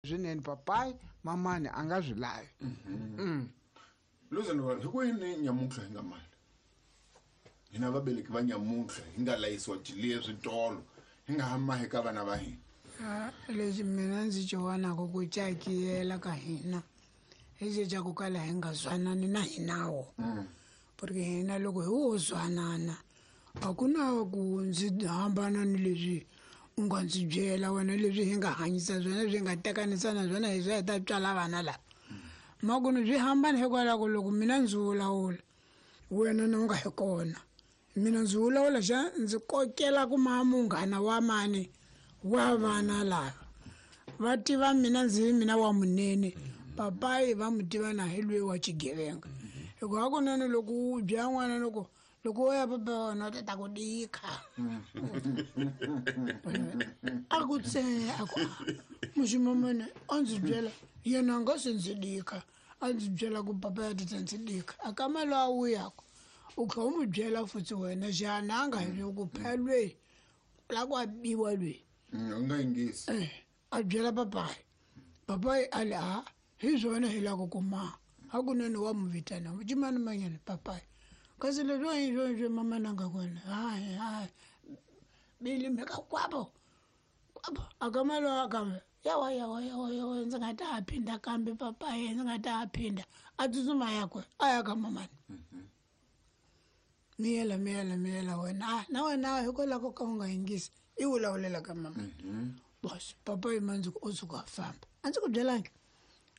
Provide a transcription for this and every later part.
Swinene papayi mamani a nga swi lavi. Luzani hi ku yini nyamuntlha hi nga mali hina vabeleki va nyamuntlha hi nga layisiwa jiliye switolo hi nga ha mahi ka vana va hina? Lexi mina ndzi xi vonaka ku cakiyela ka hina hi xe xa ku kala hi nga zwanani na hinawo, porque hina loko hi wo zwanana a ku na ku ndzi hambana ni leswi u nga ndzi byela wena, leswi hi nga hanyisa swona, leswi hi nga tekanisana swona, hi swa hi ta tswala vana lava. Makunu swi hambana hikwalaho loko mina ndzi vulavula, wena na u nga hi kona, mina ndzi vulavula xa ndzi kokela ku ma munghana wa mani wa vana lava va tiva mina ndzi mina wa munene, papayi va mu tiva na hi lweyi wa xigevenga. Hikuva hakunene loko u byela n'wana, loko wo ya papa wa wena u ta ta ku dikha, a ku tse a ku muximamane a ndzi byela yena a nga se ndzi dikha, a ndzi byela ku papa ya ta ndzi dikha. A ka mali a wuyaka u kha u mu byela futhi wena xana a nga hi ku phela lweyi la ku a biwa lweyi. U nga yingisi. A byela papayi, papayi a le a hi swona hi lava ku ma hakunene wa mu vitana cimani manyana papayi, kasi leswi hi swona swi mama na nga kona hayi hayi bili mhaka kwabo kwabo a ka mali wa kambe yawa yawa yawa yawa ndzi nga ta ha phinda kambe papayi ndzi nga ta ha phinda, a tsutsuma yakwe a ya ka mamani. Miyela miyela miyela wena na wena hikwalaho ka u nga yingisi i vulavulela ka mama. Bos papayi ma ndzi ku u suka a famba, a ndzi ku byelangi,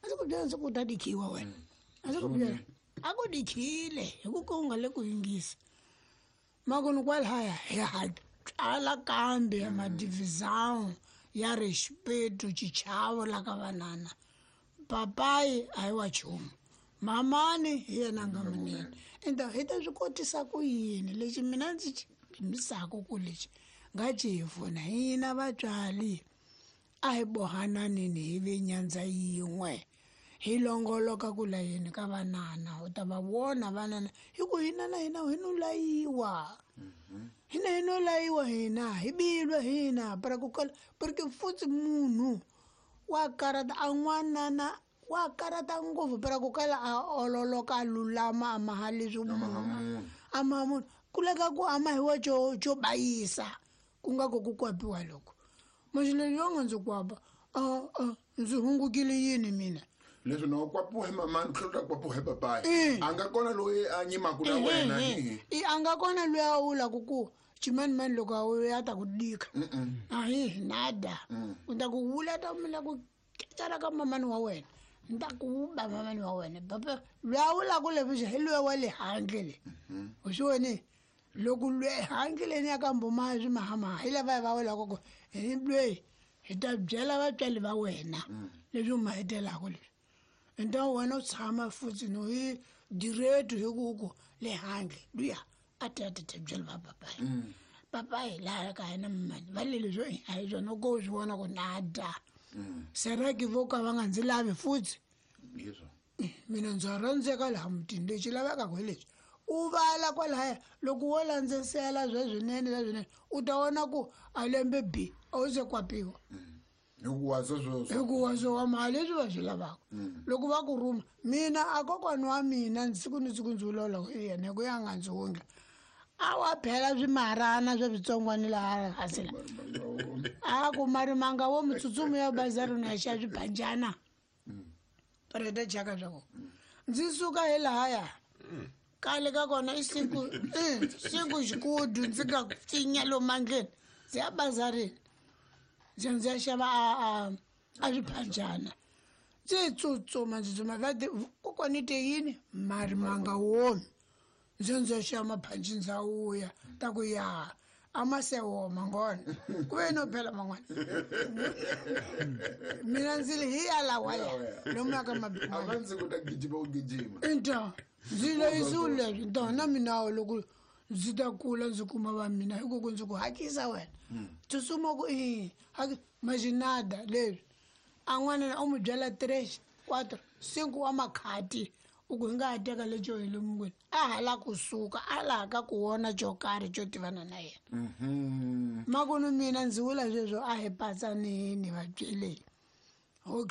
a ndzi ku byela ndzi ku ta dikhiwa wena, a ndzi ku byela a ku dikhile hi ku ka u nga le ku yingisa. Makunu kwalaya hi ha tswala kambe madivizawu ya respeto xichavo la ka vanana, papayi a hi wa nchumu, mamani hi yena nga munene. Ende hi ta swi kotisa ku yini lexi mina ndzi xi pimisaka ku lexi nga ci hi pfuna hina vatswari, a hi bohananini hi ve nyandza yin'we hi longoloka ku layeni ka vanana, u ta va vona vanana hi ku hina na hina hi no layiwa, hina hi no layiwa, hina hi bilwa hina para ku kala, porque futhi munhu wa karata a n'wanana wa karata ngopfu para ku kala a ololoka a lulama a maha leswi munhu a maha munhu ku leka ku ama hi wa xo bayisa ku nga ku ku kwapiwa loko maxi leswi yo nga ndzi kwapa ndzi hungukile yini mina. Leswi na u kwapiwa hi mamani, tlhela u ta kwapiwa hi papayi, a nga kona loyi a nyimaka na wena. I a nga kona loyi a vulaka ku ximanimani loko a ya ta ku dika ahi nada, u ta ku vula ta mina ku ketsana ka mamani wa wena, ni ta ku ba mamani wa wena papa loyi a vulaka leswi hi loyi wa le handle le u swi voni loko loyi handle leni ya ka mbuma swi mahamaha hi lava va vulaka ku hi loyi hi ta byela vatswari va wena leswi u ma hetelaka leswi. Ende wena u tshama futhi no hi direct hi ku ku le handle luya a ta ta ta byela va papayi, papayi laha ka hina mamani va le leswi a hi swona ko swi vona ku nada seraki vo ka va nga ndzi lavi futhi mina ndza rhandzeka laha mutini lexi lavekaka hi leswi u vala kwalaya loko wo landzesela sweswinene sweswinene u ta vona ku a lembe b a wu se kwapiwa. Hikuva sweswo hikuva swo wa mali leswi va swi lavaka loko va ku rhuma mina a kokwani wa mina siku ni siku ndzi vulavula hi yena hi ku ya nga ndzi wundla a wa phela swimarana swa switsongwani laha hansi la a ku marimanga wo mitsutsumo ya bazarini ya xa swibanjana reta chaka swa kona ndzi suka hi lahaya kale ka kona i siku siku xikudu ndzi nga pfinya lomu mandleni ndzi ya bazarini ndzi ndzi ya xava a swiphanjana ndzi tsutsuma ndzi tsutsuma va te kokwani te yini marimanga womi ndzi ndzi ya xava maphanji ndza wuya ta ku ya a ma se woma ngona ku ve no phela man'wana mina ndzi li hi ya lawa ya lomu ya ka a va ndzi ku ta gijima u gijima. Nta ndzi layisiwe leswi nta na mina loko ndzi ta kula ndzi kuma va mina hi ku ku ndzi ku hakisa wena tsutsuma ku i maxinada leswi a n'wana u n'wi byela 3 4 5 wa makhati u ku hi nga ha teka lexo hi le mungwini a ha la kusuka a laha ka ku vona xo karhi xo tivana na yena. Makunu mina ndzi vula sweswo a hi patsanini vabyeleni. Okay.